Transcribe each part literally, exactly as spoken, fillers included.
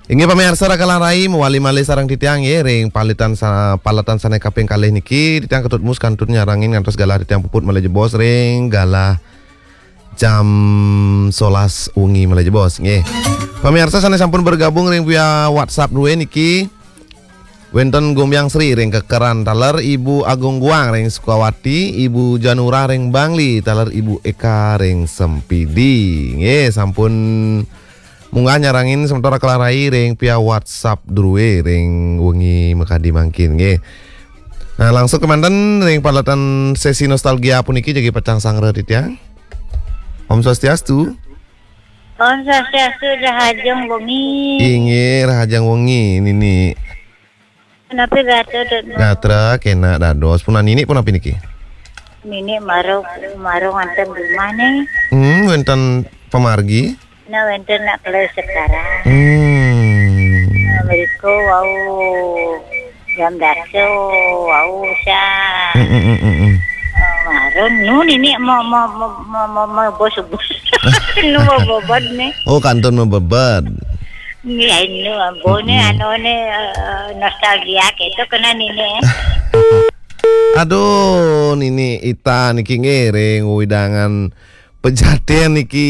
Inggih pamiarsa, raka Larai, mawali malih sareng titiang nggih ring paletan sa-, paletan sane kaping kalih niki, titiang Ketut Mus kantun nyarengin ngantos galah titiang puput malih jebos ring galah jam solas wengi malih jebos nggih. Pamiarsa sane sampun bergabung ring via WhatsApp duwe niki, wenten Gombyang Sri ring Kekeran, taler Ibu Agung Guang ring Sukawati, Ibu Janura ring Bangli, taler Ibu Eka ring Sempidi. Nggih, sampun munggah nyarengin semeton raka Larai ring via WhatsApp duwe ring wengi makadi mangkin nggih. Nah, langsung kemanten ring paletan sesi nostalgia puniki jagi pacang sanggra titiang. Om Swastiastu. Om Swastiastu, rahajeng wengi. Inggih, rahajeng wengi, Nini. Napi gatra, Dut? Gatra kenak dados. Punapi Nini, punapi niki? Nini mara, mara nganten di rumah nih. Hmm, wenten pamargi? Nah, wenten nak kelas sekarang. Hmm. Nah, mriko wau jam dasa, wau sa. Hmm, hmm, hmm, hmm, hmm. Eh, marun, nu Nini mau, mau, mau, mau, mau, mau bos-bos. Nu mau bobot nih. Oh, kantun mabebet. Nggih, nu, ampun, hmm, anu nih, eh, nostalgia gitu kena Nini. Aduh, Nini Ita niki ngiring wewidangan Pejaten niki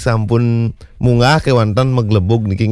sampun munggah kewanten maglebug niki